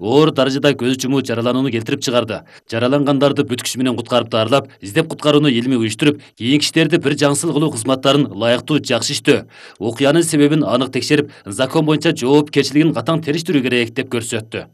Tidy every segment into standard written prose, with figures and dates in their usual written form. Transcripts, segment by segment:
оор даражада көз жумуу жараланууну келтирип чыгарды. Жаралангандарды бүт күчү менен куткарып даарылап, издеп куткарууну илимий уюштуруп, кийинки иштерди бир жаңсыл кылуу кызматтарын ылайыктуу жакшы иштөө, окуянын себебин анык текшерип, закон боюнча жоопкерчилигин катаң териштирүү керек деп көрсөттү.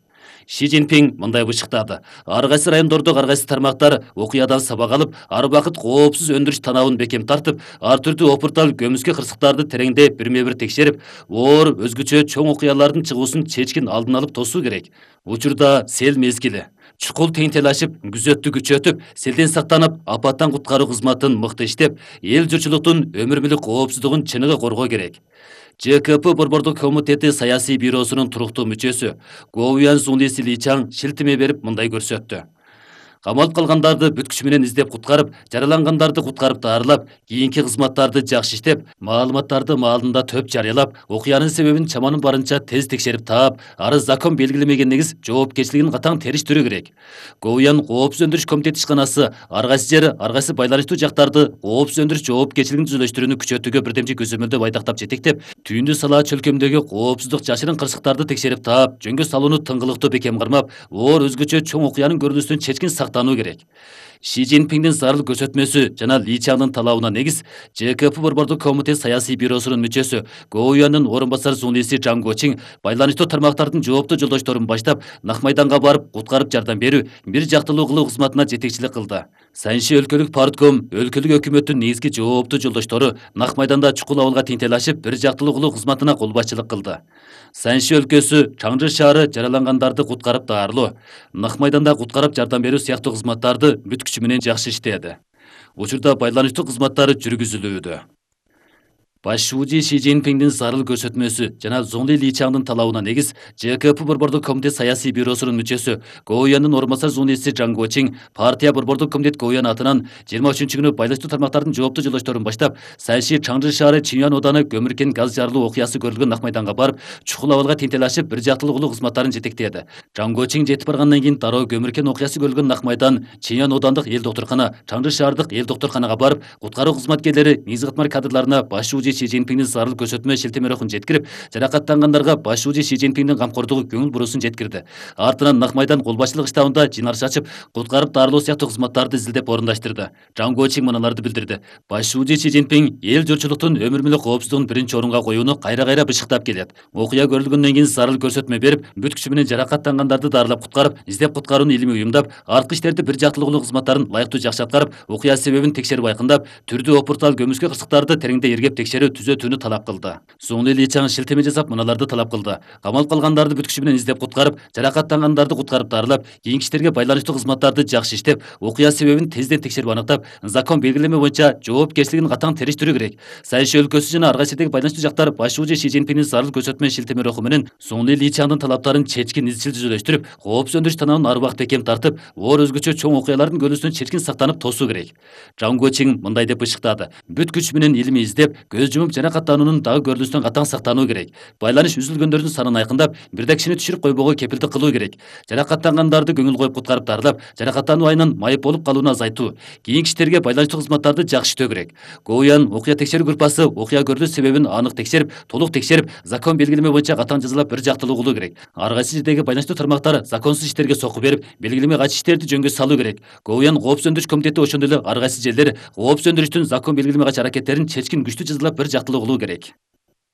Ши Цзиньпин мындай бышыктады. Ар кайсы райондордо ар кайсы тармактар окуядан сабак алып, ар убакыт коопсуз өндүрүш танабын бекем тартып, ар түрдүү опуртал көмүскө кырсыктарды тереңдеп бирме-бир текшерип, оор өзгөчө чоң окуялардын чыгуусун чечкин алдын алып тосуу керек. Учурда сел мезгили. Чукул теңтелашып, күзөттү күчөтүп, селден сактанып, апаттан куткаруу кызматын мыкты иштеп, эл журтчулуктун өмүр мүлүк коопсуздугун чыныгы коргоо керек. ЖКП Борбордук комитети саясий бюросунун туруктуу мүчөсү Гоуян Сунлиси Личаң шилтеме берип мындай көрсөттү. Камалып калгандарды бүт күчү менен издеп куткарып, жаралангандарды куткарып даарылап, кийинки кызматтарды жакшы иштеп, маалыматтарды маалында төп жарыялап, окуянын себебин чаманын барынча тез текшерип таап, ары закон белгилемеген негиз жоопкерчилигин катаң териштирүү керек. Гоуян коопсуз өндүрүш комитети ишканасы ар кайсы жери, ар кайсы байланыштуу жактарды коопсуз өндүрүш жоопкерчилигин түзүлүштүрүүнү күчөтүүгө бирдемчи көзөмөлдөп айтактап жетектеп, Түйүндү Салаа чөлкөмдөгү коопсуздук жашырын кырсыктарды текшерип таап, жөнгө салууну тыңгылыктуу бекем кармап, оор өзгөчө чоң окуянын көрүнүшүнөн чечкин сактануу керек. Ши Цзиньпиндин зарыл көрсөтмөсү жана Ли Чаңдын талабына негиз ЖКП Борбордук комитет саясий бюросунун мүчөсү Гоуяндын орун басары Сунлиси Жаң Гочиң байланыштуу тармактардын жооптуу жолдошторун баштап, Нак майданга барып куткарып жардам берүү, бир жактылуу кылуу кызматына жетекчилик кылды. Санши өлкөлүк партком, өлкөлүк өкмөттүн негизги жооптуу жолдоштору Нак майданда чукул абалга теңтелашып, бир жактылуу кылуу кызматына кол башчылык кылды. Санши өлкөсү, Чаңжы шаары жаралангандарды куткарып даарылоо, Нак майданда куткарып жардам берүү сыяктуу кызматтарды бүт күчү менен жакшы иштеди. Учурда байланыштуу кызматтары жүргүзүлүүдө. Баш шууji Ши Цзиньпиндин зарыл көрсөтмөсү жана Зоңли Ли Чаңдын талабына негиз ЖКП Борбордук комитет саясий бюросунун мүчөсү Гоуяндын орун басары Сунлиси Жаң Гочиң партия Борбордук комитет Гоуян атынан 23-күнү байланыштуу тармактардын жооптуу жолдошторун баштап, Санши Чаңжы шаары Чиньян ооданы көмүркен газ жарылуу окуясы көрүлгөн Нак майданга барып, чукул абалга теңтелашып, бир жактылуу кылуу кызматтарын жетектеди. Жаң Гочиң жетип баргандан кийин дароо көмүркен окуясы көрүлгөн Нак майдан, Чиньян оодандык эл доктуркана, Чаңжы шаардык эл доктурканага барып, куткаруу кызматкерлери негизги катмар кадрларына баш шууji Ши Цзиньпиндин зарыл көрсөтмө шилтеме рухун жеткирип, жаракаттангандарга баш шууji Ши Цзиньпиндин камкордугу көңүл буруусун жеткирди. Артынан Нак майдан кол башчылык штабында жыйналыш ачып, куткарып даарылоо сыяктуу кызматтарды изилдеп орундаштырды. Жаң Гочиң мыналарды билдирди. Баш шууji Ши Цзиньпин эл журтчулуктун өмүр мүлүк коопсуздугун биринчи орунга коюуну кайра-кайра бышыктап келет. Окуя көрүлгөндөн кийин зарыл көрсөтмө берип, бүт күчү менен жаракаттангандарды даарылап куткарып, издеп куткарууну илимий уюмдап, арткы иштерди бир жактылуу кылуу кызматтарын ылайыктуу жакшы аткарып, окуя себебин текшерип айкындап, түрдүү опуртал көмүскө кырсыктарды тереңдей иргеп текшерүү түзөтүүнү талап кылды. Зоңли Ли Чаң шилтеме жасап мыналарды талап кылды. Камалып калгандарды бүт күчү менен издеп куткарып, жаракаттангандарды куткарып даарылап, кийинки иштерге байланыштуу кызматтарды жакшы иштеп, окуя себебин тезден текшерип аныктап, закон белгилеме боюнча жоопкерчилигин катаң териштирүү керек. Санши өлкөсү жана ар кайсы жердеги байланыштуу жактар баш шууji Ши Цзиньпиндин зарыл көрсөтмө шилтеме руху менен Зоңли Ли Чаңдын талаптарын чечкин изчил түзүлүштүрүп, коопсуз өндүрүш танабын ар убакыт бекем тартып, оор өзгөчө чоң окуялардын көрүнүшүнөн чечкин сактанып тосуу керек. Жаң Гочиң мындай деп бышыктады. Бүт күч менен илимий издеп, көз жумуп жаракаттануунун дагы көрүнүшүнөн катаң сактануу керек. Байланыш үзүлгөндөрдүн санын айкындап, бирде кишини түшүрүп койбоого кепилдик кылуу керек. Жаракаттангандарды көңүл коюп куткарып даарылап, жаракаттануу айынан майып болуп калууну азайтуу, кийинки иштерге байланыштуу кызматтарды жакшы иштөө керек. Гоуян окуя текшерүү группасы окуя көрүлүш себебин анык текшерип, толук текшерип, закон белгилеме боюнча катаң жазалап бир жактылуу кылуу керек. Ар кайсы жердеги байланыштуу тармактар законсуз иштерге сокку берип, белгилеме кайчы иштерди жөнгө салуу керек. Гоуян коопсуз өндүрүш комитети ошондой эле ар кайсы жерлер коопсуз өндүрүштүн закон белгилеме кайчы аракеттерин чечкин күчтүү жазалап бир жактылуу кылуу керек.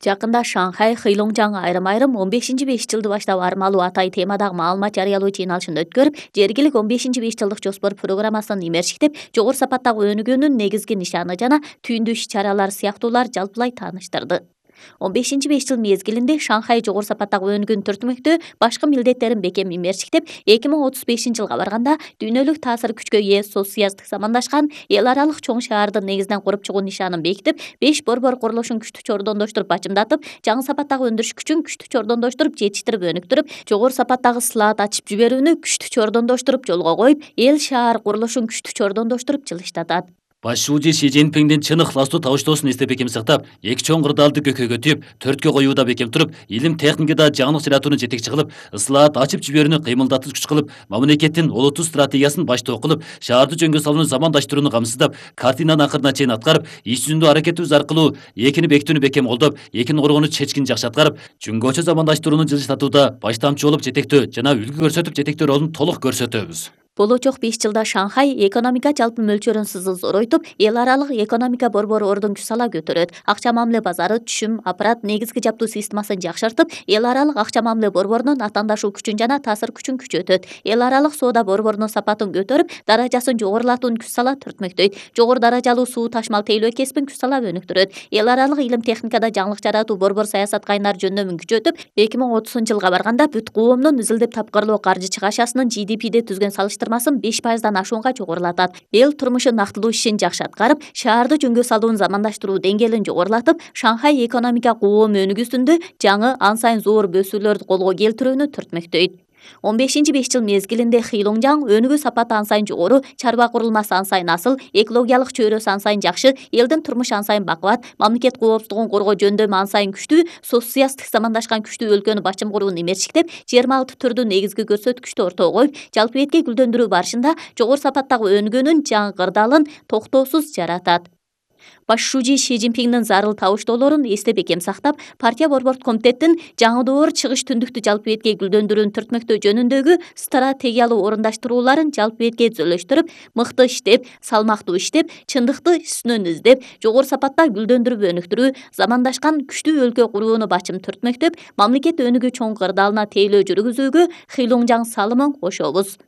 Жакында Шанхай Хэйлоңжаң айрым-айрым 15 5 жылды баштап армалуу атай темадагы маалымат жарыялоо жыйналышын өткөрүп, жергилик 15 5 жылдык жоспор программасын имерчиктеп, жогору сапаттагы өнүгүүнүн негизги нишаны жана түйүндүү иш-чаралар сыяктуулар жалпылай тааныштырды. 15 5 жыл мезгилинде Шанхай жогору сапаттагы өнүгүүнү түртмөктөө башкы милдеттерин бекем имерчиктеп, 2035 жылга барганда дүйнөлүк таасир күчкө ээ соцсуяздык замандашкан эл аралык чоң шаардын негизинен куруп чыгуу нишанын бекитип, 5 борбор курулушун күчтүү чордондоштуруп бачымдатып, жаңы сапаттагы өндүрүш күчүн күчтүү чордондоштуруп, жетиштирип өнүктүрүп, жогору сапаттагы слаат ачып жиберүүнү күчтүү чордондоштуруп жолго коюп, эл шаар курулушун күчтүү чордондоштуруп жылыштатат. Башчы Си Цзиньпиңдин чын ыхластуу табыштоосун эстеп бекем сактап, эки чоң кырдаалды көкөйгө түйүп, төрткө коюуда бекем туруп, илим техникада жаңылык жаратууну жетекчи кылып, ысылаат ачып жиберүүнү кыймылдатып күч кылып, мамлекеттин олуттуу стратегиясын баштоо кылып, шаарды жөнгө салууну замандаштырууну камсыздап, картинанын акырына чейин аткарып, иш жүзүндө аракетибиз аркылуу экини бекитүүнү бекем колдоп, экини коргоону чечкин жакшы аткарып, жөнгөчө замандаштырууну жылжытууда баштамчы болуп жетектөө жана үлгү көрсөтүп жетектөө ролун толук көрсөтөбүз. Болочок 5 жылда Шанхай экономика жалпы мөлчөрүн сызыл зоройтуп, эл аралык экономика борбору ордун күч сала көтөрөт. Акча мамиле базары, түшүм, аппарат, негизги жаптуу системасын жакшыртып, эл аралык акча мамиле борборунун аттандашуу күчүн жана таасир күчүн күчөтөт. Эл аралык соода борборунун сапатын көтөрүп, даражасын жогорулатууну күч сала түртмөктөйт. Жогору даражалуу суу ташмал тейлөө кесибин күч сала өнүктүрөт. Эл аралык илим техникада жаңылык жаратуу борбор саясат кайнар жөндөмүн күчөтүп, 2030-жылга барганда бүт коомдун изилдеп тапкырлоо каржы чыгашасынын GDP'де түзгөн салыштырмасын 5%дан ашуунга жогорулатат. Эл турмушун нактылуу ишин жакшы аткарып, шаарды жөнгө салуунун замандаштыруу деңгээлин жогорулатып, Шанхай экономика коом өнүгүүсүндө жаңы ан сайын зор бөсүүлөрдү колго келтирүүнү түртмөктөйт. 15-5 жыл мезгилинде Хилоңжаң өнүгүү сапаты ан сайын жогору, чарба курулмасы ан сайын асыл, экологиялык чөйрөсү ан сайын жакшы, элдин турмушу ан сайын бакубат, мамлекет коопсуздугун коргоо жөндөмү ан сайын күчтүү, социалисттик замандашкан күчтүү өлкөнү башчым курууну эмерчиктеп, 26 түрдүү негизги көрсөткүчтү ортого коюп, жалпы бетке гүлдөндүрүү барышында жогору сапаттагы өнүгүүнүн жаңы кырдаалын токтоосуз жаратат. Башчы Си Цзиньпиңдин зарыл табыштоолорун эстеп бекем сактап, партия борбордук комитеттин жаңы доор чыгыш түндүктү жалпы бетке гүлдөндүрүүнү түртмөктөө жөнүндөгү стратегиялуу орундаштырууларын жалпы бетке түзөлөштүрүп, мыкты иштеп, салмактуу иштеп, чындыкты үстүнөн издеп, жогору сапатта гүлдөндүрүп өнүктүрүү, замандашкан күчтүү өлкө курууну бачым түртмөктөп, мамлекет өнүгүү чоң кырдаалына тейлөө жүргүзүүгө Хилоңжаң салымын кошобуз.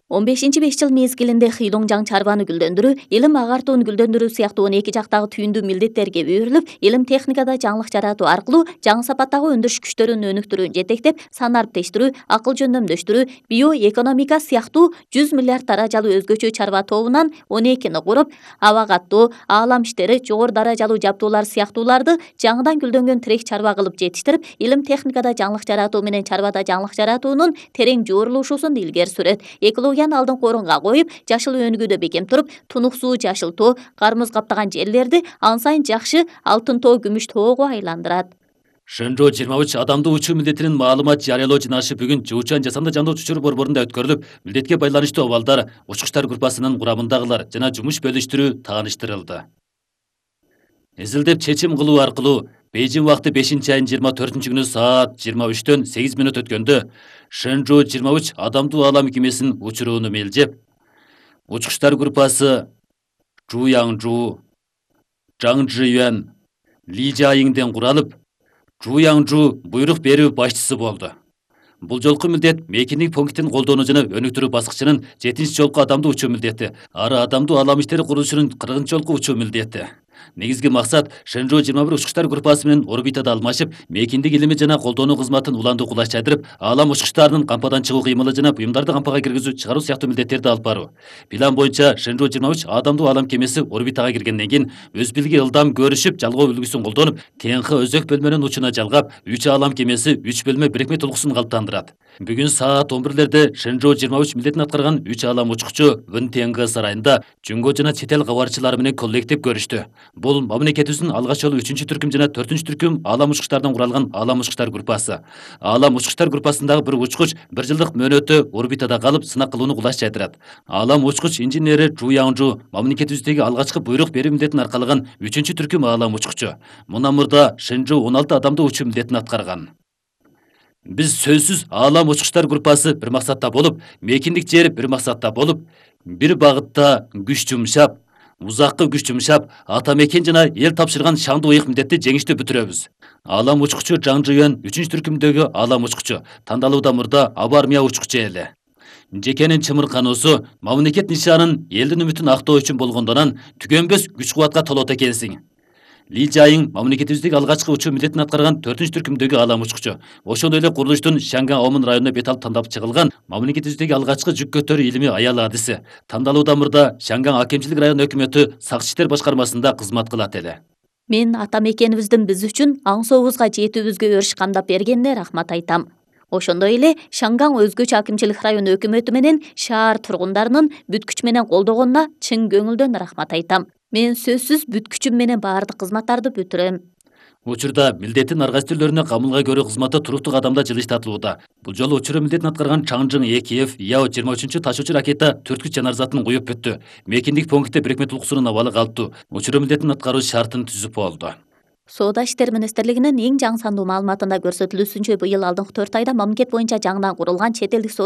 15-5 жыл мезгилинде Хилоңжаң чарбаны гүлдөндүрүү, илим агартууну гүлдөндүрүү сыяктуу 12 жактагы түйүндүү милдеттерге берилип, илим техникада жаңылык жаратуу аркылуу жаңы сапаттагы өндүрүш күчтөрүн өнүктүрүүнү жетектеп, сан ариптештирүү, акыл жөндөмдөштүрүү, биоэкономика сыяктуу 100 миллиард даражалуу өзгөчө чарба тобунан 12-ни куруп, аба каттоо, аалам иштери, жогору даражалуу жаптуулар сыяктууларды жаңыдан гүлдөнгөн тирек чарба кылып жетиштирип, илим техникада жаңылык жаратуу менен чарбада жаңылык жаратуунун терең жуурулушусун илгери сүрөт. Алдыңкы орунга коюп, жашыл өнүгүүдө бекем туруп, тунук суу жашыл тоо, кармыз каптаган жерлерди ан сайын жакшы алтын тоо, күмүш тоого айландырат. Шэнжоу 23 адамдуу учуу милдетинин маалымат жарыялоо жыйналышы бүгүн Жуучан жасанды жандуу учур борборунда өткөрүлүп, милдетке байланыштуу абалдар, учкучтар группасынын курамындагылар жана жумуш бөлүштүрүү тааныштырылды. Изилдеп чечим кылуу аркылуу Бейжин вакыты 5-айдын 24-күнү саат 23-төн 8 мүнөт өткөндө Шэнжоу 23 адамдуу аалам кемесинин учурууну мелжеп, учкучтар группасы Жу Яңжу, Жаң Жиюан, Ли Жайиңден куралып, Жу Яңжу буйрук берүү башчысы болду. Бул жолку милдет мейкиндик пунктин колдоону жана өнүктүрүү баскычынын 7-жолку адамдуу учуу милдети, ары адамдуу аалам иштери курулушунун 40-жолку учуу милдети. Негизги максат Шэнжоу 21 учкучтар группасы менен орбитада алмашып, мейкиндик илими жана колдонуу кызматын уландуу кулаш жайдырып, аалам учкучтарынын кампадан чыгуу кыймылы жана буюмдарды кампага киргизүү, чыгаруу сыяктуу милдеттерди алып баруу. План боюнча Шэнжоу 23 адамдуу аалам кемеси орбитага киргенден кийин өз билги ылдам көрүшүп, жалгоо үлгүсүн колдонуп, ТНХ өзөк бөлмөнүн учуна жалгап, 3 аалам кемеси 3 бөлмө бирикме толкусун калыптандырат. Бүгүн саат 11-лерде Шэнжоу 23 милдетин аткарган 3 аалам учкучу Вын ТНХ сарайында жөнгө жана чет эл кабарчылары менен коллектив көрүштү. Бул мамлекетибиздин алгач жолу 3-түркүм жана 4-түркүм аалам учкучтардан куралган аалам учкучтар группасы. Аалам учкучтар группасындагы бир учкуч 1 жылдык мөөнөттө орбитада калып, сынак кылууну кулаш жайдырат. Аалам учкуч инженери Жу Яңжу мамлекетибиздеги алгачкы буйрук берүү милдетин аркалаган 3-түркүм аалам учкучу. Мындан мурда Шэнжоу 16 адамдуу учуу милдетин аткарган. Биз сөзсүз аалам учкучтар группасы бир максатта болуп, мейкиндик жери бир максатта болуп, бир багытта күч жумшап, узаккы күч жумшап, ата мекен жана эл тапшырган шаңдуу ыйык милдетти жеңиштүү бүтүрөбүз. Аалам учкучу Жаң Жиюан 3-түркүмдөгү аалам учкучу, тандалууда мурда аба армия учкучу эле. Жекенин чымыркануусу, мамлекет нишанын, элдин үмүтүн актоо үчүн болгондон түгөнбөс күч кубатка толот экенсиң. Ли Жайиң мамлекетибиздеги алгачкы учуу милдетин аткарган 4-түркүмдөгү аалам учкучу. Ошондой эле курулуштун Шанган Омун районуна бет алып тандап чыгылган мамлекетибиздеги алгачкы жүк көтөрүү илими аял адиси. Тандалууда мурда Шанган акимчилик район өкмөтү сакчы иштер башкармасында кызмат кылат эле. Мен ата мекенибиздин биз үчүн аң сообузга жетүүбүзгө өрүш камдап бергенине рахмат айтам. Ошондой эле Шанган өзгөчө акимчилик району өкмөтү менен шаар тургундарынын бүт күч менен колдогонуна чын көңүлдөн рахмат айтам. Мен сөзсүз бүт күчүм менен баардык кызматтарды бүтүрөм. Учурда милдеттин ар кайсы түрлөрүнө камылга көрүү кызматы туруктуу кадамда жылыштатылууда. Бул жолу учуру милдетин аткарган Чаңжың Экиев Яо-23 таш учу ракета 4 жанар затын куюп бүттү. Мекендик пунктте Бирикме Тулкусунун абалы калыптуу. Учуру милдетин аткаруу шартын түзүп болду. Соода иштери министрлигинин эң жаңы сандуу маалыматында көрсөтүлүүсүнчө быйыл алдыңкы 4 айда мамлекет боюнча жаңыдан курулган чет элдик соода